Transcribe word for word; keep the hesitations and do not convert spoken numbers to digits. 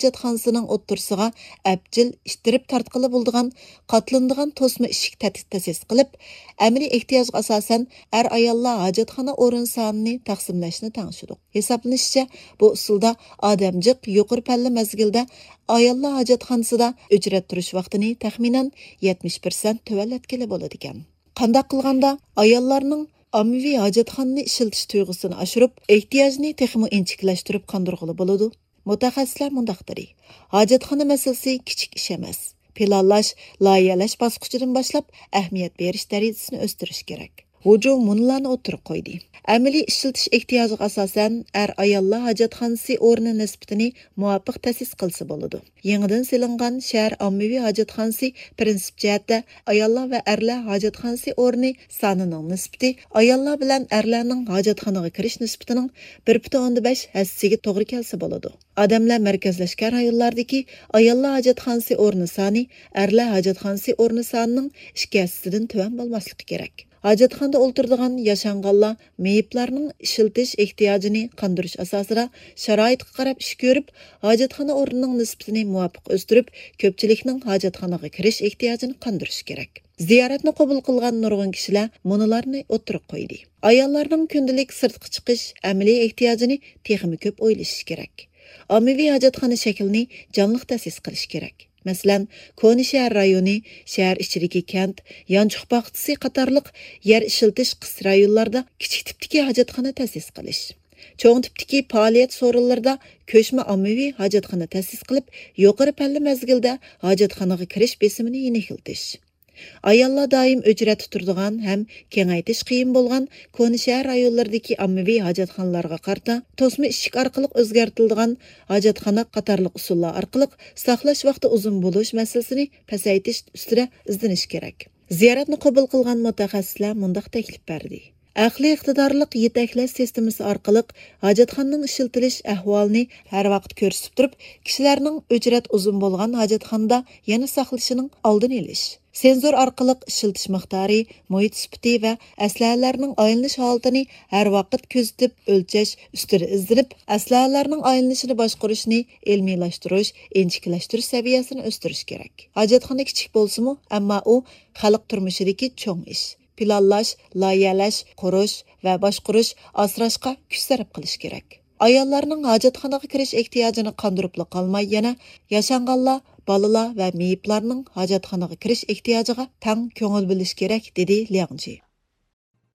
ھاجەتخانىسىنىڭ ئوتتۇرىسىغا ئەپچىل ئىتتىرىپ تارتقىلى بولىدىغان قاتلىنىدىغان توسما ئىشىك تەت-، تەسىس قىلىپ، ئەمەلىي ئېھتىياجغا ئاساسەن ئەر-ئاياللار ھاجەتخانا ئورۇن سانىنى تەقسىملەشنى تەڭشىدۇق. ھېسابلىنىشىچە، بۇ ئۇسۇلدا ئادەم جىق يۇقىرى پەللە مەزگىلدە ئاياللار ھاجەتخانىسىدا ئۆچرەت تۇرۇش ۋاقتىنى تەخمىنەن يەتمىش پىرسەنت تۆۋەنلەتكىلى بولىدىكەن. قانداق قىلغاندا ئاياللارنىڭ ئاممىۋى ھاجەتخانىنى ئىشلىتىش تۇيغۇسىنى ئاشۇرۇپ، ئېھتىياجنى تېخىمۇ ئىنچىكىلەشتۈرۈپ قاندۇرغىلى بولىدۇ؟ مۇتەخەسسىسلەر مۇنداق دېدى، ھاجەتخانا مەسىلىسى كىچىك ئىش ئەمەس. پىلانلاش، لايىھەلەش باسقۇچىدىن باشلاپ ئەھمىيەت بېرىش دەرىجىسىنى ئۆستۈرۈش كېرەك. ۋۇجۇ مۇنۇلارنى ئوتتۇرىغا قويدى. ئەمەلىي ئىشلىتىش ئېھتىياجىغا ئاساسەن، ئەر-ئاياللار ھاجەتخانىسى ئورنى نىسبىتىنى مۇۋاپىق تەسىس قىلسا بولىدۇ. يېڭىدىن سېلىنغان شەھەر ئاممىۋى ھاجەتخانىسى پىرىنسىپ جەھەتتە ئاياللار ۋە ئەرلەر ھاجەتخانىسى ئورنى سانىنىڭ نىسبىتى ئاياللار بىلەن ئەرلەرنىڭ ھاجەتخانىغا كىرىش نىسبىتىنىڭ بىر پۈتۈن ئوندىن بەش ھەسسىسىگە توغرا كەلسە بولىدۇ. ئادەملەر مەركەزلەشكەن رايونلاردىكى ئاياللار ھاجەتخانىسى ئورنى سانى ئەرلەر ھاجەتخانىسى ئورنى سانىنىڭ ئىككى ھەسسىسىدىن تۆۋەن بولماسلىقى كېرەك. ھاجەتخانىدا ئولتۇرىدىغان ياشانغانلار مېيىپلارنىڭ ئىشلىتىش ئېھتىياجىنى قاندۇرۇش ئاساسىدا شارائىتقا قاراپ ئىش كۆرۈپ، ھاجەتخانا ئورنىنىڭ نىسبىتىنى مۇۋاپىق ئۆستۈرۈپ، كۆپچىلىكنىڭ ھاجەتخانىغا كىرىش ئېھتىياجىنى قاندۇرۇشى كېرەك. زىيارەتنى قوبۇل قىلغان نۇرغۇن كىشىلەر مۇنۇلارنى ئوتتۇرىغا قويدى. ئاياللارنىڭ كۈندىلىك سىرتقا چىقىش ئەمەلىي ئېھتىياجىنى تېخىمۇ كۆپ ئويلىشىشى كېرەك. ئاممىۋى ھاجەتخانا شەكلىنى جانلىق تەسىس قىلىش كېرەك. مەسىلەن، كونا شەھەر رايونى، شەھەر ئىچىدىكى كەنت، يانچۇق باغچىسى قاتارلىق يەر ئىشلىتىش قىس رايونلاردا كىچىك تىپتىكى ھاجەتخانا تەسىس قىلىش. چوڭ تىپتىكى پائالىيەت سورۇنلىرىدا كۆچمە ئاممىۋى ھاجەتخانا تەسىس قىلىپ، يۇقىرى پەللە مەزگىلدە ھاجەتخانىغا كىرىش بېسىمىنى يېنىكلىتىش. ئاياللار دائىم ئۆچرەتتە تۇرىدىغان ھەم كېڭەيتىش قىيىن بولغان كونا شەھەر رايونلىرىدىكى ئاممىۋى ھاجەتخانىلارغا قارىتا توسما ئىشىك ئارقىلىق ئۆزگەرتىلىدىغان ھاجەتخانا قاتارلىق ئۇسۇللار ئارقىلىق ساقلاش ۋاقتى ئۇزۇن بولۇش مەسىلىسىنى پەسەيتىش ئۈستىدە ئىزدىنىش كېرەك. زىيارەتنى قوبۇل قىلغان مۇتەخەسسىسلەر مۇنداق تەكلىپ بەردى. ئەقلىي ئىقتىدارلىق يېتەكلەش سىستېمىسى ئارقىلىق ھاجەتخانىنىڭ ئىشلىتىلىش ئەھۋالىنى ھەر ۋاقىت كۆرسىتىپ تۇرۇپ، كىشىلەرنىڭ ئۆچرەت ئۇزۇن بولغان ھاجەتخانىدا يەنە ساقلىشىنىڭ ئالدىنى ئېلىش. سېنزور ئارقىلىق ئىشلىتىش مىقدارى، مۇھىت سۈپىتى ۋە ئەسلىھەلەرنىڭ ئايلىنىش ھالىتىنى ھەر ۋاقىت كۆزىتىپ ئۆلچەش ئۈستىدە ئىزدىنىپ، ئەسلىھەلەرنىڭ ئايلىنىشىنى باشقۇرۇشنى ئىلمىيلاشتۇرۇش، ئىنچىكىلەشتۈرۈش سەۋىيەسىنى ئۆستۈرۈش كېرەك. ھاجەتخانا كىچىك بولسىمۇ، ئەمما ئۇ خەلق تۇرمۇشىدىكى چوڭ ئىش. پىلانلاش، لايىھەلەش، قۇرۇش ۋە باشقۇرۇش، ئاسراشقا كۈچ سەرپ قىلىش كېرەك. ئاياللارنىڭ ھاجەتخانىغا كىرىش ئېھتىياجىنى قاندۇرۇپلا قالماي، يەنە ياشانغانلار، بالىلار ۋە مېيىپلارنىڭ ھاجەتخانىغا كىرىش ئېھتىياجىغا تەڭ كۆڭۈل بۆلۈش كېرەك، دېدى لياڭ جى.